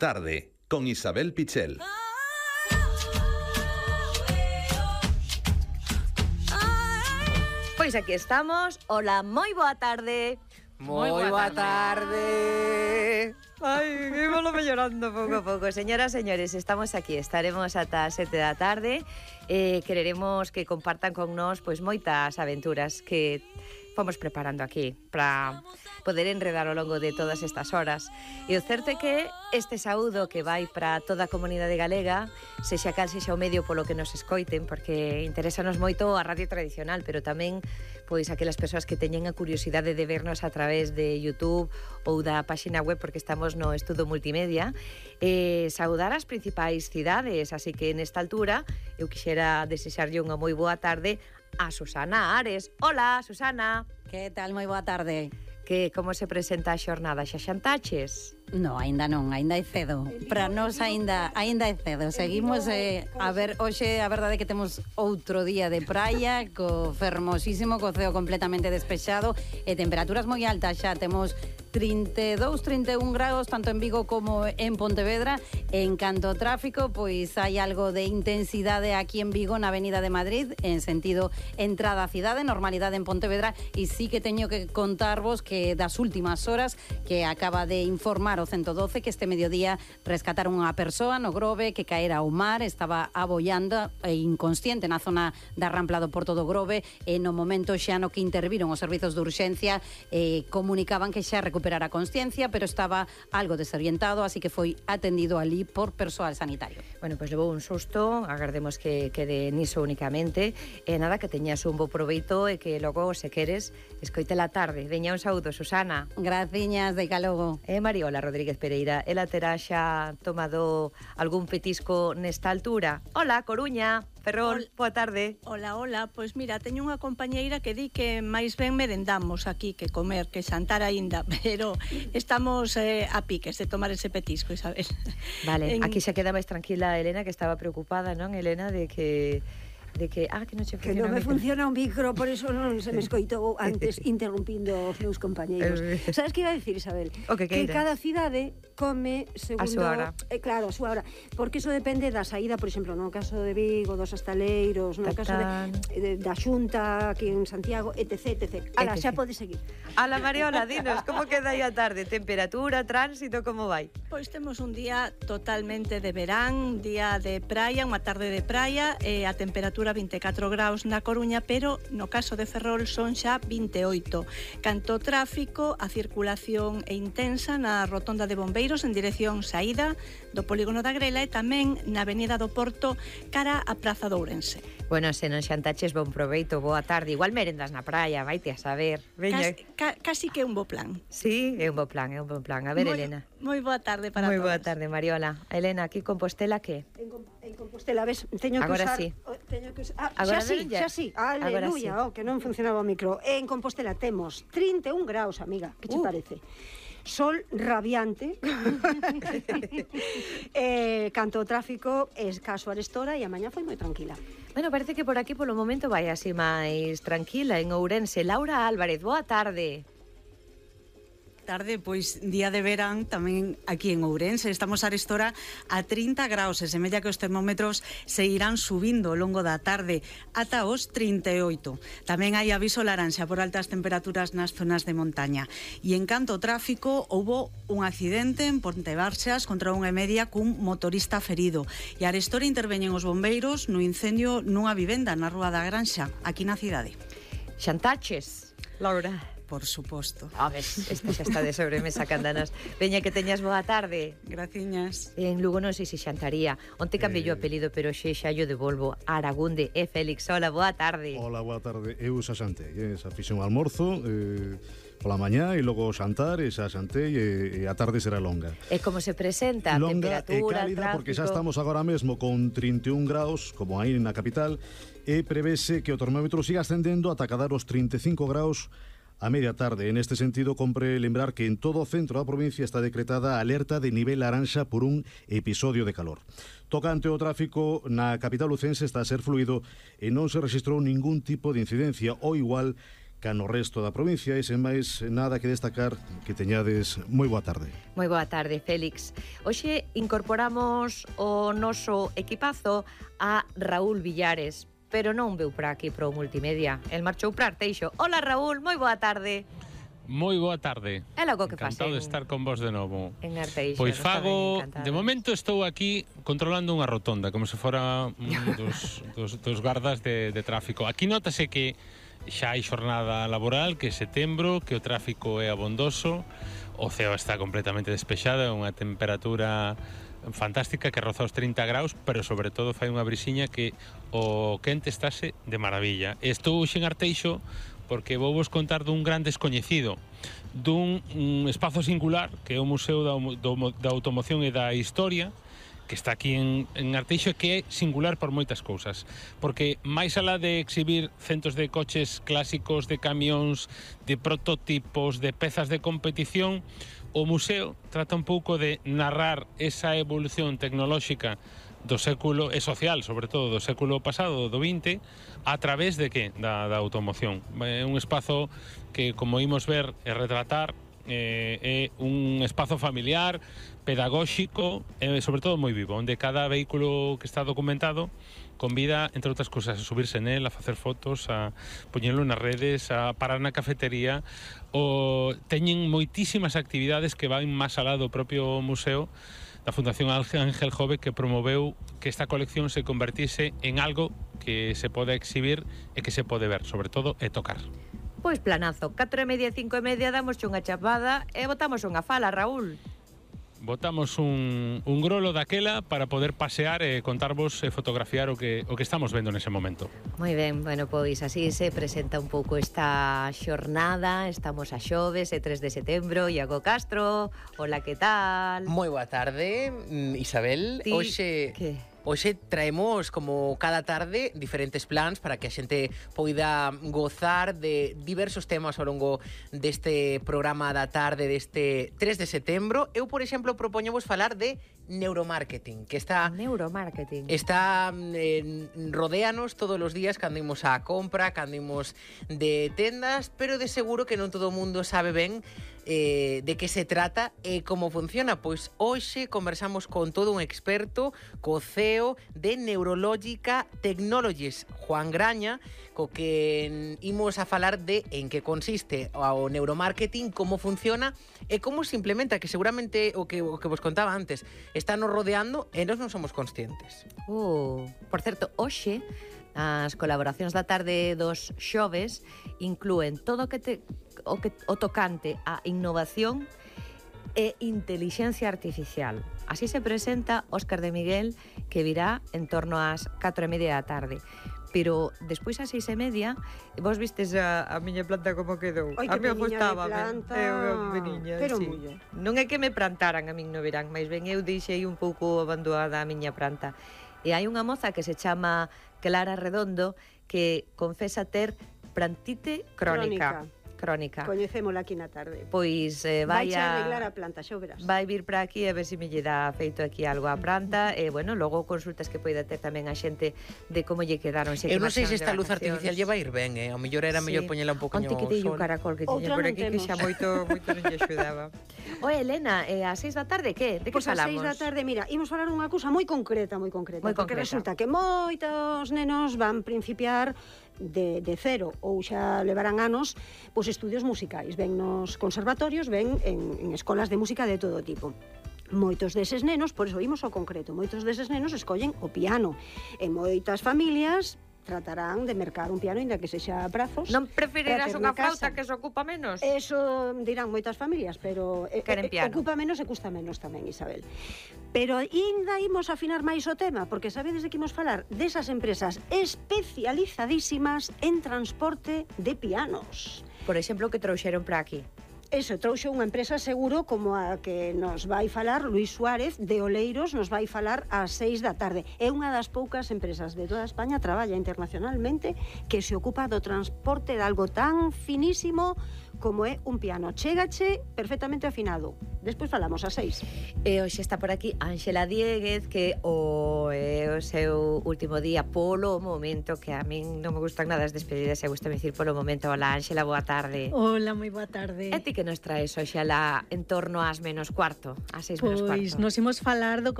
Tarde, con Isabel Pichel. Pois aquí estamos. Hola, moi boa tarde. Moi boa tarde. Ai, ímolo mellorando pouco a pouco. Señoras, señores, estamos aquí. Estaremos ata as 7 da tarde. Quereremos que compartan con nós pois moitas aventuras que fomos preparando aquí para poder enredar ao longo de todas estas horas. E o certo é que este saúdo que vai para toda a comunidade galega, sexa cal sexa o medio polo que nos escoiten, porque interesanos moito a radio tradicional, pero tamén pois aquelas persoas que teñen a curiosidade de vernos a través de YouTube ou da páxina web, porque estamos no estudo multimedia, saudar as principais cidades, así que nesta altura eu quixera desexarlle unha moi boa tarde a Susana Ares. Hola, Susana. Que tal? Moi boa tarde. Como se presenta a xornada? Xa xantaches? No, aínda non, aínda é cedo. Para nós aínda é cedo. Seguimos a ver, hoxe a verdade é que temos outro día de praia, co fermosísimo, co ceo completamente despexado e temperaturas moi altas xa. Temos 32, 31 graus tanto en Vigo como en Pontevedra. En canto ao tráfico, pois hai algo de intensidade aquí en Vigo na Avenida de Madrid, en sentido entrada á cidade, normalidade en Pontevedra, e sí que teño que contarvos que das últimas horas que acaba de informar o 112 que este mediodía rescataron unha persoa no Grove que caera ao mar, estaba aboiando e inconsciente na zona da Rampla do Porto do Grove, e no momento xa no que interviron os servizos de urxencia comunicaban que xa recuperara a consciencia, pero estaba algo desorientado, así que foi atendido ali por persoal sanitario. Bueno, pois levou un susto, agardemos que quede niso únicamente, e nada, que teñas un bo proveito e que logo, se queres, escoite la tarde. Veña, un saúdo, Susana. Graciñas, de calogo. Mariola Rodríguez Pereira, ela terá xa tomado algún petisco nesta altura. Hola, Coruña. Ferrol, boa tarde. Hola, pois mira, teño unha compañeira que di que máis ben merendamos aquí que comer, que xantar aínda, pero estamos a piques de tomar ese petisco, Isabel. Vale, aquí se queda máis tranquila Elena, que estaba preocupada, non, Elena, de que non che que non me funciona o micro, por eso non se me escoitou antes interrumpindo os meus compañeiros. Sabes que iba a decir, Isabel? Que cada cidade come segundo... A súa hora. Claro, a súa hora. Porque iso depende da saída, por exemplo, no caso de Vigo, dos Astaleiros, no caso da Xunta, aquí en Santiago, etc. Ala, xa pode seguir. Ala, Mariola, dinos, como queda aí a tarde? Temperatura, tránsito, como vai? Pois temos un día totalmente de verán, día de praia, unha tarde de praia, e a temperatura 24 graus na Coruña, pero no caso de Ferrol son xa 28. Canto ao tráfico, a circulación é intensa na rotonda de Bombeiros en dirección saída do polígono da Grela e tamén na Avenida do Porto cara a Praza de Ourense. Bueno, se non xantaches, bon proveito, boa tarde. Igual merendas na praia, vaite a saber. Veña. Casi que é un bo plan. Sí, é un bo plan, é un bo plan. A ver, Elena. Moi boa tarde para todos. Moi boa tarde, Mariola. Elena, aquí Compostela, que? En Compostela, ves, teño que agora usar... Sí. Teño que usar... Agora xa sí. Aleluya, que non funcionaba o micro. En Compostela temos 31 graus, amiga. Que che parece? Sol radiante. Canto o tráfico, escaso arestora, e a mañá foi moi tranquila. Bueno, parece que por aquí polo momento vai así máis tranquila en Ourense. Laura Álvarez, boa tarde. Tarde, pois día de verán tamén aquí en Ourense. Estamos arestora a 30 graus e semella que os termómetros se irán subindo ao longo da tarde ata os 38. Tamén hai aviso laranxa por altas temperaturas nas zonas de montaña. E en canto ao tráfico, houbo un accidente en Pontevarxas contra 1:30 cun motorista ferido. E arestora interveñen os bombeiros no incendio nunha vivenda na Rúa da Granxa, aquí na cidade. Xantaches, Laura? Por suposto. A ver, esta xa está de sobremesa, candanas. Veña, que teñas boa tarde. Graciñas. En Lugo non sei se xantaría. Onte cambiei o apelido, pero xa yo devolvo. Aragunde e Félix. Hola, boa tarde. Hola, boa tarde. Eu xa xantei, xa fixen o almorzo, pola mañá e logo xantar, e xa xantei e a tarde será longa. E como se presenta? Longa temperatura, e cálida, tráfico... porque xa estamos agora mesmo con 31 graus, como aí na capital, e prevese que o termómetro siga ascendendo ata cadar os 35 graus a media tarde. En este sentido, compre lembrar que en todo o centro da provincia está decretada alerta de nivel laranxa por un episodio de calor. Tocante ao tráfico, na capital lucense está a ser fluido e non se registrou ningún tipo de incidencia, ou igual ca no resto da provincia, e sen máis nada que destacar, que teñades moi boa tarde. Moi boa tarde, Félix. Hoxe incorporamos o noso equipazo a Raúl Villares, pero non veu por aquí pro Multimedia. El marchou para Arteixo. Hola, Raúl, moi boa tarde. Moi boa tarde. É logo que facen. Encantado de estar con vos de novo. En Arteixo. Pois fago, de momento estou aquí controlando unha rotonda, como se fora dos gardas de tráfico. Aquí notase que xa hai xornada laboral, que é setembro, que o tráfico é abondoso, o ceo está completamente despexado, é unha temperatura fantástica que roza os 30 graus, pero sobre todo fai unha brisiña que o quente estase de maravilla. Estou hoxe en Arteixo porque vou vos contar dun gran descoñecido, dun espazo singular que é o Museo da Automoción e da Historia, que está aquí en Arteixo, que é singular por moitas cousas, porque máis alá de exhibir centos de coches clásicos, de camións, de prototipos, de pezas de competición, o museo trata un pouco de narrar esa evolución tecnolóxica do século, e social, sobre todo, do século pasado, do 20, a través de que? Da automoción. É un espazo que, como imos ver e retratar, é un espazo familiar, pedagóxico e, sobre todo, moi vivo, onde cada vehículo que está documentado convida, entre outras cousas, a subirse nel, a facer fotos, a poñelo nas redes, a parar na cafetería. Teñen moitísimas actividades que van máis alá do propio museo da Fundación Ángel Jove, que promoveu que esta colección se convertise en algo que se pode exhibir e que se pode ver, sobre todo, e tocar. Pois planazo, 4:30, 5:30, damos unha chapada e botamos unha fala, Raúl. Botamos un grolo daquela para poder pasear e contarvos e fotografiar o que estamos vendo nese momento. Moi ben, bueno, pois así se presenta un pouco esta xornada. Estamos a xoves, 3 de setembro. Iago Castro, hola, que tal? Moi boa tarde, Isabel. Hoxe traemos, como cada tarde, diferentes plans para que a xente poida gozar de diversos temas ao longo deste programa da tarde deste 3 de setembro. Eu, por exemplo, propoñovos falar de neuromarketing, que está rodéanos todos os días cando imos á compra, cando imos de tendas, pero de seguro que non todo o mundo sabe ben de que se trata e como funciona. Pois hoxe conversamos con todo un experto, co CEO de Neurologica Technologies, Juan Graña, co que imos a falar de en que consiste o neuromarketing, como funciona e como se implementa, que seguramente o que vos contaba antes está nos rodeando e nós non somos conscientes. Por certo, hoxe as colaboracións da tarde dos xoves inclúen todo o tocante a innovación e inteligencia artificial. Así se presenta Óscar de Miguel, que virá en torno ás 4:30 da tarde. Pero despois ás 6:30, vos vistes a miña planta como quedou? Ai, a que mí gustaba, pero sí. muller. Non é que me plantaran a min no verán, mais ben eu deixei un pouco abandonada a miña planta. E hai unha moza que se chama Clara Redondo que confesa ter plantite crónica. Coñecémola aquí na tarde. Pois vai a arreglar a planta, xa o verás. Vai vir para aquí a ver se me lle dá feito aquí algo á planta e, bueno, logo consultas que poida ter tamén a xente de como lle quedaron. Eu non sei se esta luz artificial lle vai ir ben, ao mellor era mellor poñela un poquinho ao sol. Onte que dei un caracol que tiña por aquí que xa moito non lle axudaba. Oe, Elena, ás 6 da tarde, que? De que falamos? Pois ás 6 da tarde, mira, imos falar unha cousa moi concreta, porque resulta que moitos nenos van principiar de cero ou xa levarán anos pois estudios musicais, ven nos conservatorios, ven en escolas de música de todo tipo. Moitos deses nenos, por iso imos ao concreto, moitos deses nenos escollen o piano e moitas familias tratarán de mercar un piano inda que sexa a prazos. Non preferirás unha flauta que se ocupa menos? Eso dirán moitas familias, pero ocupa menos e custa menos tamén, Isabel. Pero ainda imos afinar máis o tema, porque sabedes de que imos falar desas empresas especializadísimas en transporte de pianos. Por exemplo, que trouxeron para aquí. Eso, trouxo unha empresa seguro como a que nos vai falar Luis Suárez de Oleiros, nos vai falar ás 6 da tarde. É unha das poucas empresas de toda España, traballa internacionalmente, que se ocupa do transporte de algo tan finísimo como é un piano. Chégache perfectamente afinado. Despois falamos a 6. E hoxe está por aquí Ángela Dieguez, que o seu último día polo momento, que a min non me gustan nada as despedidas, e gusta dicir polo momento. Hola Ángela, boa tarde. Hola, moi boa tarde. E ti que nos traes hoxe en torno ás menos cuarto, ás 6 menos cuarto? Pois nos imos falar do